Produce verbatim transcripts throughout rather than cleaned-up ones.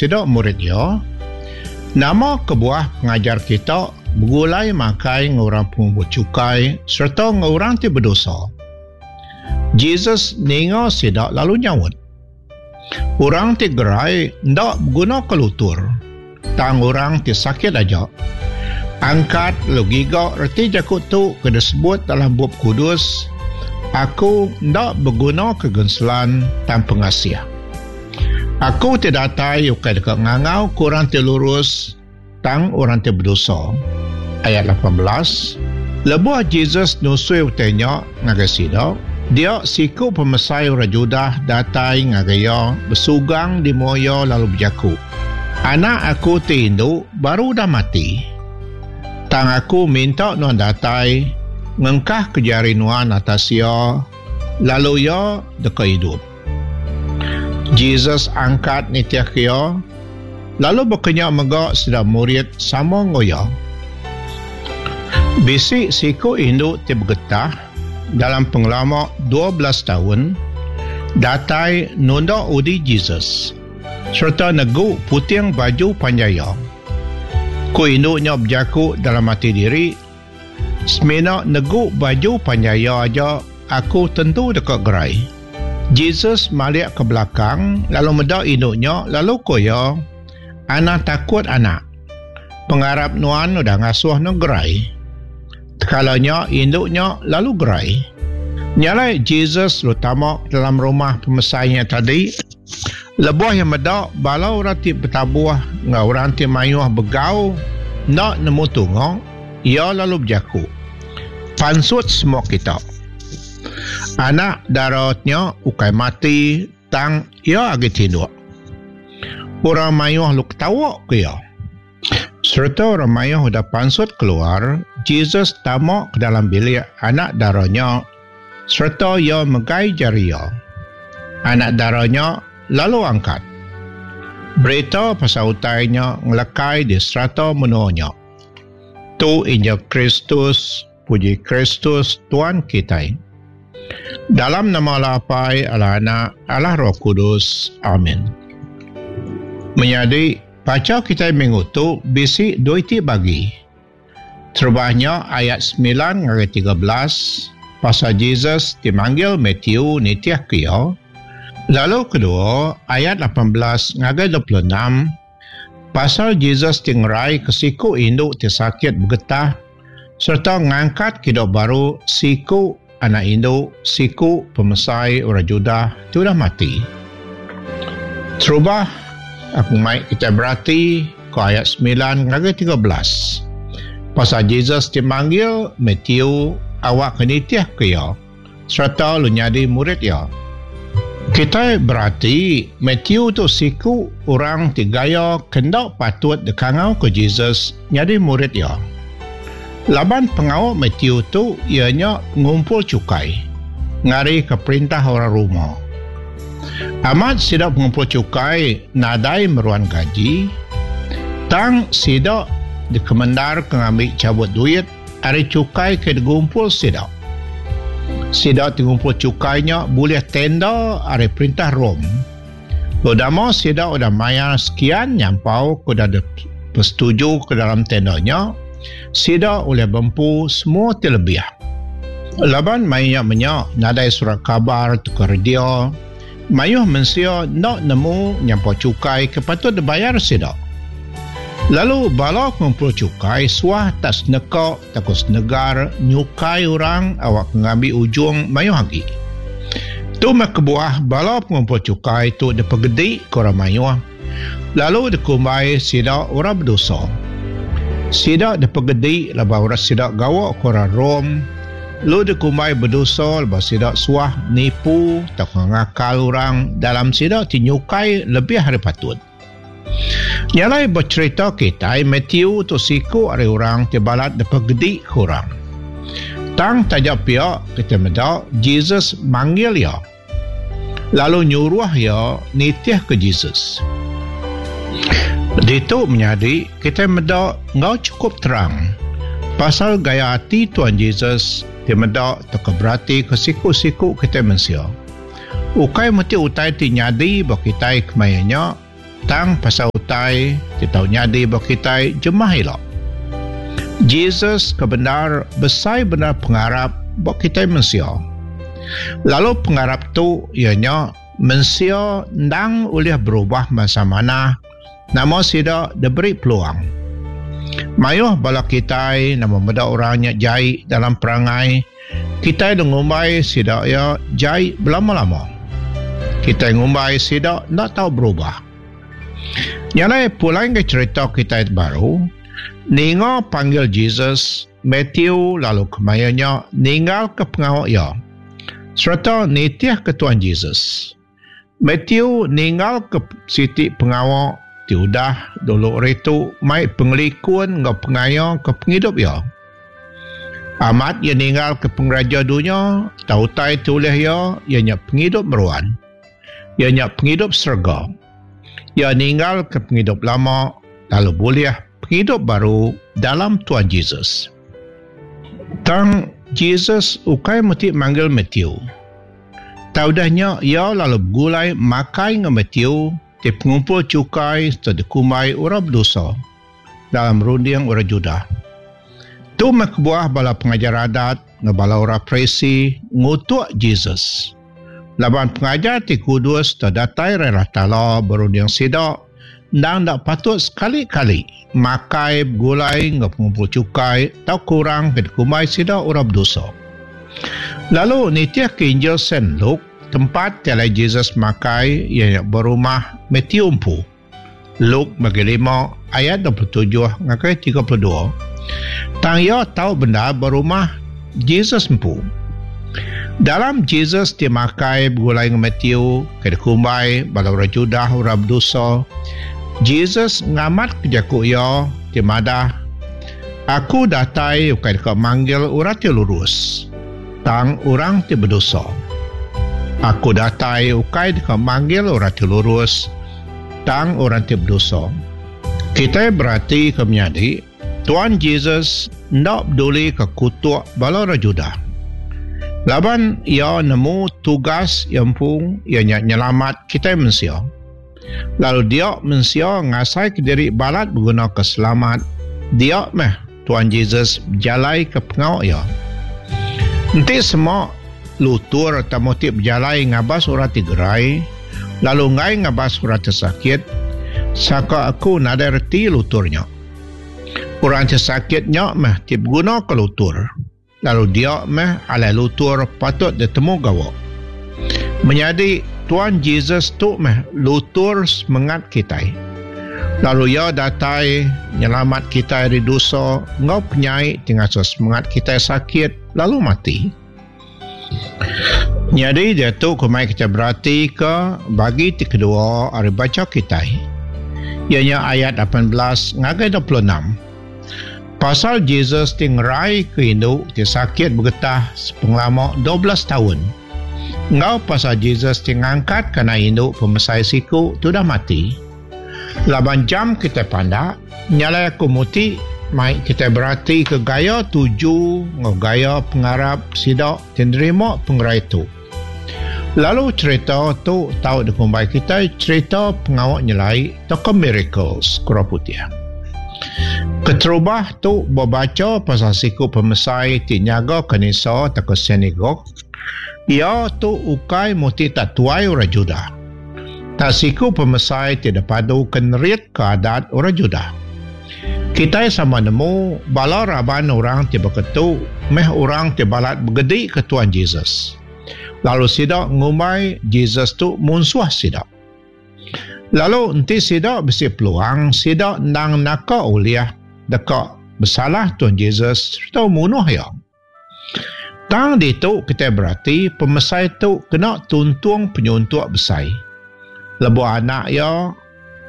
sida murid iya, Nama kebuah pengajar kita begulai makai enggau orang pengumpul chukai sereta enggau orang ti bedosa? Jesus ninga sida lalu nyaut, Orang ti gerai enda begunaka lutur, tang orang ti sakit aja. Angkat lalu giga reti jaku tu ke disebut dalam Bup Kudus, Aku enda begunaka genselan tang pengasih. Aku ti datai ukai deka ngangauka orang ti lurus, tang orang ti bedosa. Ayat lapan belas, Lebuh Jesus nusui utai nya ngagai sida, dia siku pemesai orang Judah datai ngagai iya besugang di mua iya lalu bejaku, Anak aku ti indu baru udah mati. Tang aku minta nuan datai ngengkahka jari nuan atas iya, lalu iya deka idup. Jesus angkat nitihka iya, lalu baka nya mega sida murid sama enggau iya. Bisi siku indu ti begetah dalam pengelama dua belas taun datai nunda udi Jesus sereta negu puting baju panjai iya. Ku indu nya bejaku dalam ati diri, Semina negu baju panjai iya aja aku tentu deka gerai. Jesus malik ke belakang lalu meda indu nya lalu ku iya, Anang takut anak. Pengarap nuan udah ngasuh nuan gerai. Tekala nya indu nya lalu gerai. Nya alai Jesus lalu tama ke dalam rumah pemesai nya tadi. Lebuh iya meda bala orang ti betabuh enggau orang ti mayuh begau enda nemu tunga, iya lalu bejaku, Pansut semua kita. Anak dara nya ukai mati tang iya agi tinduk. Orang mayuh lalu ketawa ke iya. Sereta orang mayuh udah pansut keluar, Jesus tama ke dalam bilik anak dara nya sereta iya megai jari iya. Anak dara nya lalu angkat. Berita pasal utai nya ngelekai di serata menua nya. Tu Injil Kristus, puji Kristus Tuan kitai. Dalam nama Allah Apai, Allah Anak, Allah Roh Kudus. Amin. Menyadi, bacha kitai minggu tu bisi dua iti bagi. Terubah nya ayat semilan ngagai tiga belas pasal Jesus ti manggil Matthew nitihka iya. Lalu kedua, ayat lapan belas ngagai dua puluh enam pasal Jesus ti ngeraika siku indu ti sakit begetah sereta ngangkat kidup baru siku anak indu siku pemesai orang Judah ti udah mati. Terubah, aku mai kitai berati ke ayat semilan ngagai tiga belas pasal Jesus ti manggil Matthew awak ke nitihka iya sereta lalu nyadi murid iya. Kitai berati Matthew tu siku orang ti gaya ke enda patut dikangauka Jesus nyadi murid iya. Laban pengawa Matthew tu iya nya ngumpul chukai ngarika perintah orang Roma. Amat sida pengumpul chukai nadai meruan gaji, tang sida dikemendarka ngambi chabut duit ari chukai ke digumpul sida. Sida ti ngumpul chukai nya bulih tenda ari perintah Rome. Lalu dama sida udah mayar sekian nyampau ke udah dipesetuju ke dalam tenda nya, sida ulih bempu semua ti lebih. Laban maya nya menya nadai surat kabar tauka radio, mayuh mensia enda nemu nyampau chukai ke patut dibayar sida. Lalu bala pengumpul chukai suah tak seneka tauka senegar nyukai orang awak ke ngambi ujung mayuh agi. Tu meh kebuah bala pengumpul chukai tu dipegedi ke orang mayuh lalu dikumbai sida orang bedosa. Sida dipegedi laban orang sida gawa ke orang Rome lalu dikumbai bedosa laban sida suah nipu tauka ngakal orang dalam sida ti nyukai lebih ari patut. Nya alai becherita kitai Matthew tu siku ari orang ti balat dipegedi ke orang. Tang taja pia kitai meda Jesus manggil iya lalu nyuruh iya nitihka Jesus. Ditu menyadi kitai meda enggau chukup terang pasal gaya ati Tuan Jesus ti meda tauka beratika siku-siku kitai mensia. Ukai meti utai ti nyadi ba kitai kemaya nya Tang pasal utai ti tau nyadi ba kitai jemah ila. Jesus kebenar besai benar pengarap ba kitai mensia. Lalu pengarap tu ianya mensia ndang ulih berubah masa mana nama sida diberi peluang. Mayuh bala kitai nama meda orangnya jai dalam perangai, kitai ngumbai sida ya jai belama-lama. Kitai ngumbai sida ndak tahu berubah. Nyalai pulang ke cerita kitai baru, ninga panggil Jesus, Matthew lalu kemayanya ninggal ke pengawak ya serta nitih ke Tuhan Jesus. Matthew ninggal ke siti pengawak ti udah dulu ritu mai pengelikun ngau pengaya ke penghidup ya. Amat ia ninggal ke pengeraja dunia, tau utai tulih ya, ia nya penghidup meruan. Ia nya penghidup serga. Ia ninggal ke penghidup lama lalu boleh penghidup baru dalam Tuhan Jesus. Tang Jesus ukai mesti manggil Matthew. Taudahnya ia lalu bergulai makai dengan Matthew ti pengumpul cukai serta dikumbai orang berdosa dalam runding orang Judah. Tu meh kebuah bala pengajar adat ngan bala orang Farisi ngutuk Jesus. Laban pengajar ti kudus terdatai rela tala berunding sida ndang dak patut sekali-kali makai bergulai ngan pengumpul cukai atau kurang ke dikumbai sida orang berdosa. Lalu nitih ke Injil Saint Luke, tempat tiada Jesus makai ia berumah Matthew empu. Luke bagi lima ayat dua puluh tujuh ngagai tiga puluh dua. Tang ia tahu benda berumah Jesus empu. Dalam Jesus ti makai bergulai dengan Matthew ke dikumbai bala orang Judah orang berdosa, Jesus ngamat kejaku ia ti madah, aku datai ukai dekat manggil orang ti lurus, tang orang ti berdosa. Aku datai ukai dekat manggil orang ti lurus, tang orang ti berdosa. Kita berarti ke menyadi, Tuhan Jesus ndak peduli ke kutuk bala orang Judah. Laban ia nemu tugas yang pung ia nyelamat kita mensia. Lalu dia mensia ngasai ke diri balat berguna keselamat, dia meh Tuhan Jesus berjalai ke pengawak ia. Enti semua lutur atau motif berjalai ngabas orang tigerai, lalu ngai ngabas orang tersakit, saka aku nadai reti luturnya. Orang tersakitnya meh ti berguna ke lutur. Lalu dia meh alai lutur patut ditemu gawak. Menyadi Tuhan Jesus tu meh lutur semangat kita. Lalu ia datai nyelamat kita dari dosa ngau penyai tinggal semangat kita sakit lalu mati. Jadi dia tu kumai kita berarti ke bagi ti kedua hari baca kita. Ianya ayat lapan belas ngagai dua puluh enam. Pasal Jesus ti ngerai ke induk ti sakit bergetah sepengelama dua belas tahun. Ngau pasal Jesus ti ngangkat kana induk pemesai siku tu dah mati. Laban jam kita pandak, nyalai aku muti mai kita berarti ke gaya tuju ngau gaya pengarap sidak ti nerima pengerai tu. Lalu cerita tu tau dikumbai kita cerita pengawak nyelai toko miracles kurang putih. Keterubah tu berbaca pasal siku pemesai ti nyaga kanisa atau sinagog. Ia tu ukai muti tak tuai orang Judah. Tak siku pemesai ti dapadu kenerit ke adat orang Judah. Kita sama nemu bala raban orang ti berketu meh orang ti balat bergedi ke Tuhan Jesus. Lalu sida ngumbai Jesus tu munsuh sida. Lalu enti sida bisi peluang, sida nang naka uliah dekat bersalah Tuhan Jesus serta munuh ia. Tang ditu kita berarti pemesai tu kena tuntung penyuntuk besai. Lebuh anak ia,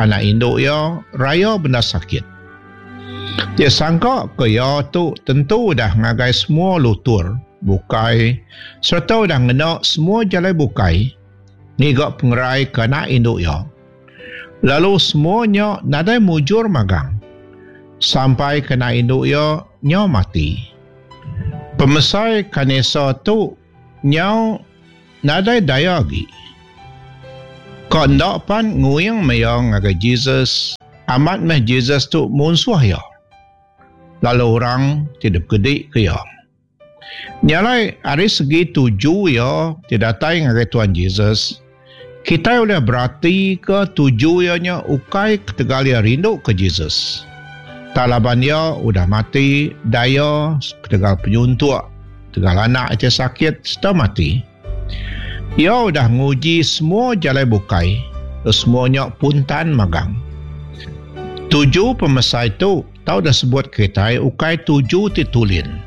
anak induk ia, raya benda sakit. Dia sangka ke ia tu tentu dah ngagai semua lutur bukai serta dah ngena semua jalan bukai ngiga pengerai ke anak induk ia. Lalu semuanya nadai mujur magang sampai kena induk ia nyau mati. Pemesai kanisa tu nyau nadai daya lagi. Ka enda pan nguing meh iya ngagai Jesus, amat meh Jesus tu munsuh iya. Lalu orang ti dipegedi ke iya. Nya alai ari segi tuju iya ti datai ngagai Tuan Jesus, kitai ulih beratika tuju iya nya ukai ketegal iya rindu ke Jesus. Tang laban iya udah mati daya ketegal penyuntuk, ketegal anak iya ti sakit sereta mati. Iya udah nguji semua jalai bukai, lalu semua nya puntan magang. Tuju pemesai tu tau disebut kitai ukai tuju ti tulin.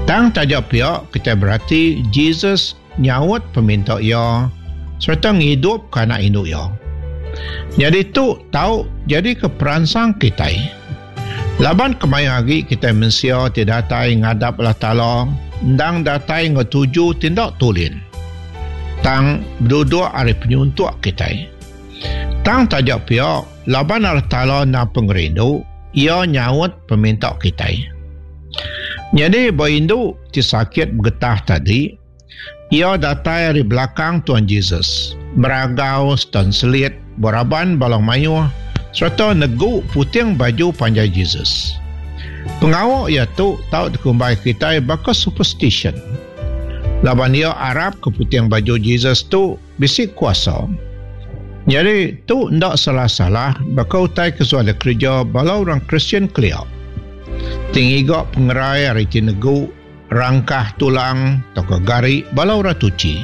Tang taja pia kitai berati Jesus nyaut peminta iya sereta ngidupka anak indu iya. Nyadi tu tau nyadika peransang kitai. Laban kemaya agi kitai mensia ti datai ngadap Allah Taala endang datai enggau tuju ti enda tulin. Tang beduduk ari penyuntuk kitai. Tang taja pia, laban Allah Taala endang pengerindu, Iya nyaut peminta kitai. Nyadi ba indu ti sakit begetah tadi, iya datai ari belakang Tuan Jesus, meragau sereta enselit beraban bala mayuh sereta negu puting baju panjai Jesus. Pengawa iya tu tau dikumbai kitai baka superstition, laban iya arapka puting baju Jesus tu bisi kuasa. Nyadi, tu enda salah-salah baka utai ke suah dikereja bala orang Kristian kelia, ti ngiga pengerai ari ti negu rangkah tulang tauka gari bala orang tuchi.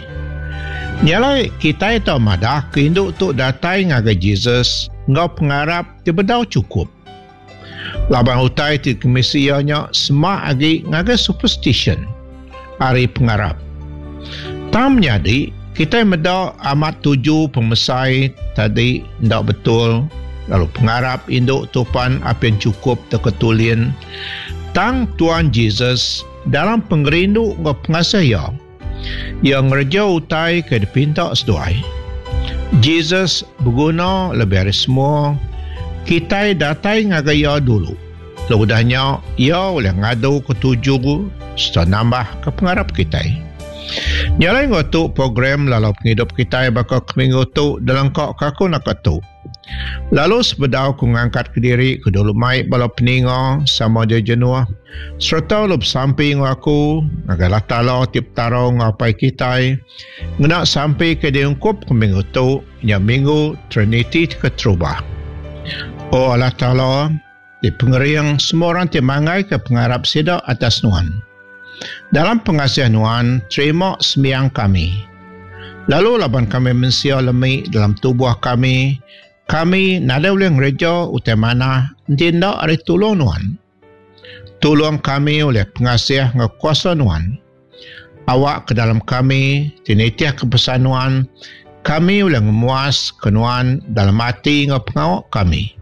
Nya alai, kitai tau madah ke indu tu datai ngagai Jesus enggau pengarap ti bedau chukup. Laban utai ti dikemisi iya nya semak agi ngagai superstition ari pengarap. Tang menyadi, kitai meda amat tuju pemesai tadi enda betul lalu pengarap indu tu pan apin chukup tauka tulin. Tang Tuan Jesus dalam pengerindu enggau pengasih iya, iya ngereja utai ke dipinta seduai. Jesus beguna lebih ari semua kitai datai ngagai iya dulu. Lalu udah nya, iya ulih ngaduka tuju sereta nambahka pengarap kitai. Nya alai enggau tu program lalau pengidup kitai baka ke minggu tu dilengkaka aku naka tu. Lalu sebedau ku ngangkat kediri ke dulu mai bala peninga sama dia jenuh sereta lalu besampi enggau aku ngagai Allah Taala ti Petara enggau Apai kitai ngena sampi ke diungkup ke minggu tu nya minggu Triniti ti keterubah. O Allah Taala ti pengering semua orang ti manggaika pengarap sida atas Nuan. Dalam pengasih Nuan terima sembiang kami. Lalu laban kami mensia lemi dalam tubuh kami, kami nadai ulih ngereja utai manah enti enda ari tulung Nuan. Tulung kami ulih pengasih enggau kuasa Nuan. Awakka dalam kami ti nitihka pesan Nuan, kami ulih ngemuaska Nuan dalam ati enggau pengawa kami.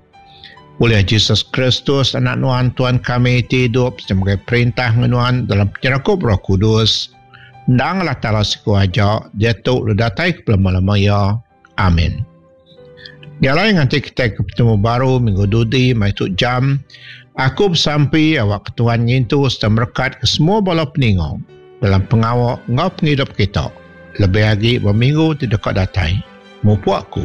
Ulih Jesus Kristus Anak Nuan Tuan kami ti idup sereta megai perintah enggau Nuan dalam penyerakup Roh Kudus, endang Allah Taala siku aja, diatu lalu datai ke belama-lama iya. Amin. Nya alai nganti kitai ke betemu baru minggu dudi mai tu jam, aku besampi awakka Tuhan ngintu sereta merekatka semua bala peninga dalam pengawa enggau pengidup kita, lebih agi ba minggu ti deka datai. Mupuk aku.